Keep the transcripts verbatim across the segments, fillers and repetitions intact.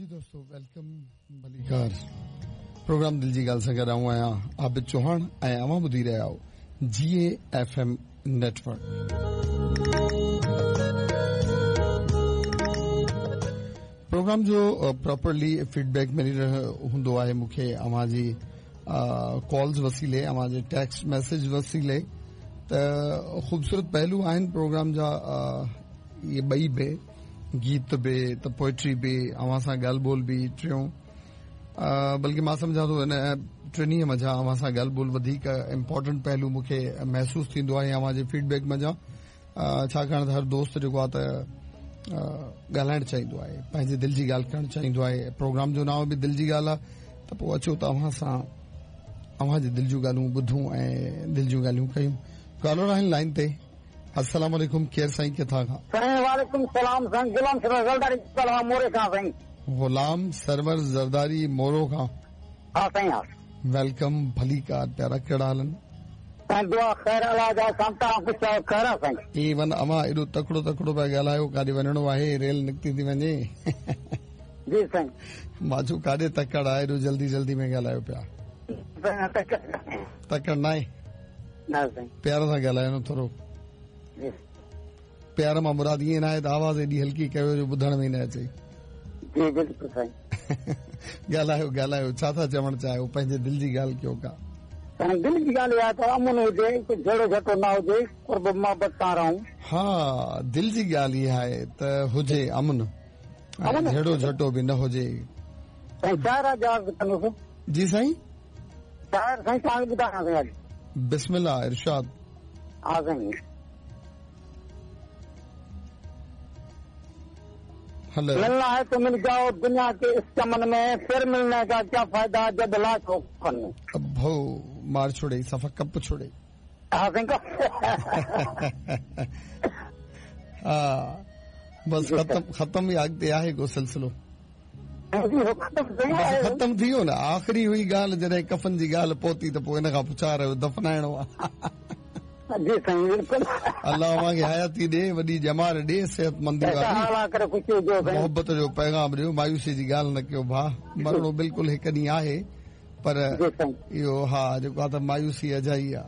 जी दोस्तों, welcome भलीकार। Programme दिल जी ॻाल्हि सां गॾु आऊं आहियां आबिद चौहान ऐं अव्हां ॿुधी रहिया आहियो G A F M network. Programme जो प्रॉपरली फीडबैक मिली रहियो हूंदो आहे मूंखे अव्हां जी कॉल्स वसीले, अव्हां जे टेक्स्ट मैसेज वसीले, त ख़ूबसूरत पहलू आहिनि प्रोग्राम जा। इहे ॿई बि, गीत बि, त पोइट्री बि, अव्हां सां ॻाल्हि ॿोल बि, टियों बल्कि मां सम्झां थो इन टिनी मंझां अव्हां सां ॻाल्हि ॿोल वधीक इम्पोर्टेंट पहलू मूंखे महसूसु थींदो आहे अव्हां जे फीडबैक मंझां, छाकाणि त हर दोस्त जेको आहे त ॻाल्हाइणु चाहींदो आहे, पंहिंजी दिलि जी ॻाल्हि करणु चाहींदो आहे। प्रोग्राम जो नाम बि दिलि जी ॻाल्हि आहे, त पोइ अचो त अव्हां सां अव्हां जी दिलि जूं ॻाल्हियूं ॿुधूं ऐं दिलि जूं ॻाल्हियूं कयूं। कॉलर आहिनि लाइन ते। अस्सलाम वालेकुम, केरु साईं, किथां खां? साईं वालेकुम सलाम साईं, गुलाम सरवर ज़रदारी मोरे खां साईं। गुलाम सरवर ज़रदारी मोरो खां? हा साईं, हा। Welcome, भलीकार प्यारा, कहिड़ा हाल आहिनि? साईं दुआ ख़ैर, अलाह जा सां, तव्हां पुछायो ख़ैर आहे साईं? इवन अव्हां एॾो तकड़ो तकड़ो पिया ॻाल्हायो, काॾे वञिणो आहे, रेल निकिती थी वञे। जी साईं। मां चयो काॾे तकड़ आहे, एॾो जल्दी जल्दी में ॻाल्हायो पिया। तकड़ न आहे? न साईं। प्यार सां ॻाल्हायो न थोरो। प्यार मां मुराद ईअं न आहे त आवाज़ एॾी हल्की कयो जो ॿुधण में न अचे। जी बिल्कुलु साईं। ॻाल्हायो ॻाल्हायो, छा था चवणु चाहियो? पंहिंजे दिलि जी ॻाल्हि कयो का। साईं दिलि जी ॻाल्हि इहा त अमन हुजे, झेड़ो झटो न हुजे, क़ुर्ब मोहबत सां रहूं। हा, दिलि जी ॻाल्हि इहा आहे त हुजे अमन, झेड़ो झटो बि न हुजे। साईं शायर जा कंदुसि। जी साईं, शायर साईं तव्हांखे ॿुधायां साईं। बिस्मिल्लाह, इरशाद। हा साईं। मिलना है तो मिल जाओ दुनिया के इस चमन में, फिर मिलने का क्या फायदा जब लाश हो कफन में। अब भो मार छोड़े, सफा कप छोड़े। हाँ, बस खत्म खत्म ही अॻिते आहे को सिलसिलो खत्म थी वियो न। आख़िरी हुई ॻाल्हि जॾहिं कफन जी ॻाल्हि पहुती त पोइ इन खां पुछा रहियो दफ़नाइणो आहे। जी साईं बिल्कुल। अल्लाह अव्हांखे हयाती ॾे, वॾी ॼमार ॾे, सिहतमंदी वारी मोहबत जो पैगाम ॾियो, मायूसी जी ॻाल्हि न कयो भाउ। मरणो बिल्कुलु हिकु ॾींहुं आहे, पर इहो हा जेको आहे त मायूसी अजाई आहे।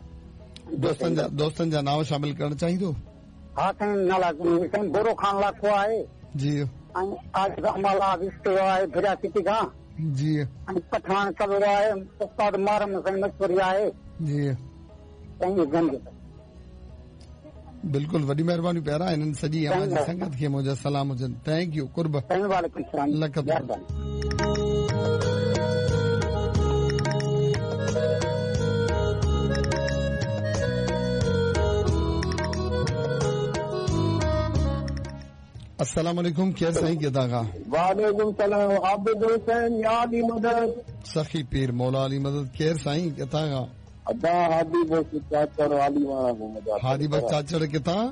दोस्तनि जा दोस्तनि जा नाव शामिल करणु चाहींदो? हा साईं, नाला साईं बोरो खान लाखो आहे जी, ऐं आहे फिरिया सिटी खां जी, ऐं पठान कबरो आहे, उस्ताद मारम साईं मशहूरी आहे जी साईं। बिल्कुल, वॾी महिरबानी प्यारा। हिननि सॼी अव्हां जी संगत खे मुंहिंजा सलाम हुजनि। Thank you, क़ुर्ब। लख। अस्सलाम वालेकुम, केरु साईं, किथां खां? वालेकुम सलाम, आबिद हुसैन, या अली मदद। सखी पीर मौला अली मदद। केरु साईं, किथां खां? अदा हादी बख्श चाचड़ आली वाला को। हादी बख्श चाचड़ किथां?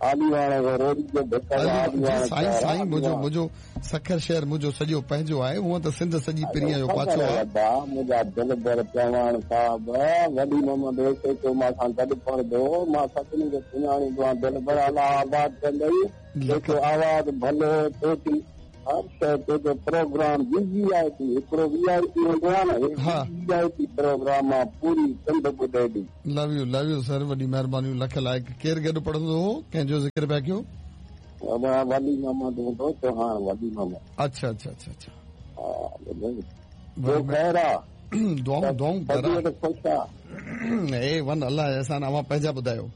आली वाला को, रोड जो भटका। साईं साईं मुंहिंजो मुंहिंजो सखर शहर मुंहिंजो सॼो पंहिंजो आहे, हूअं त सिंध सॼी परीअ जो पाछो आहे। अदा मुंहिंजा दिलबर चव्हाण साहब, वॾी मोहम्मद हुसैन मां सां गॾु पढ़ंदो, मां सभिनी खे सुञाणींदो आहियां। दिलबर अलाह आबाद कंदई, जेको आवाज़ भलो तोती हर शइ तुंहिंजो प्रोग्राम we I P हिकिड़ो we I P हूंदो आहे न, we I P programme आहे, पूरी सिंध ॿुधे थी। Love you, love you sir, वॾी महिरबानी, लख लाइक़। केरु गॾु पढ़ंदो हो, कंहिंजो ज़िक्र पिया कयो? वली मोहम्मद हूंदो चौहान, वली मोहम्मद। अच्छा अच्छा अच्छा अच्छा, ॿियो ख़ैर आहे? दुआऊं दुआऊं ए वन अलाह एहसान। अव्हां पंहिंजा ॿुधायो।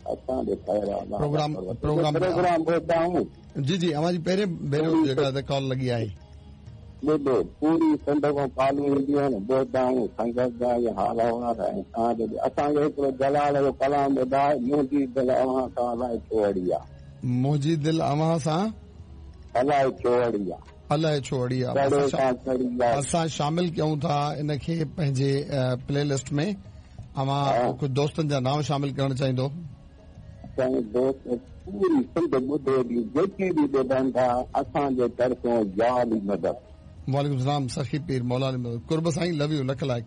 प्रोग्राम प्रोग्राम प्रोग्राम ॿुधाऊं। जी जी, अव्हां जी पहिरियों भेरो जेका त कॉल लॻी आहे। ॿुधो, पूरी सिंध खां कॉलूं ईंदियूं आहिनि, ॿुधाऊं संगत जा इहे हाल अहिवाल ऐं तव्हांजो असांखे हिकिड़ो जलाल जो कलाम ॿुधाए, मुंहिंजी दिलि अव्हां सां अलाए छो अड़ी आहे। मुंहिंजी दिलि अव्हां सां अलाए छो अड़ी आहे। अलाए छो अड़ी आहे। असां शामिल कयूं था इनखे पंहिंजे प्ले लिस्ट में। अव्हां कुझु दोस्तनि जा नाम शामिल करणु चाहींदो? दोस्त पूरी सिंध ॿुधे थी, जेके बि ॿुधनि था असांजे तरफ़ों या अली मदद। वालेकुम सलाम, सखी पीर मौला अली मदद। क़ुर्ब साईं, लव you, लख लाइक़।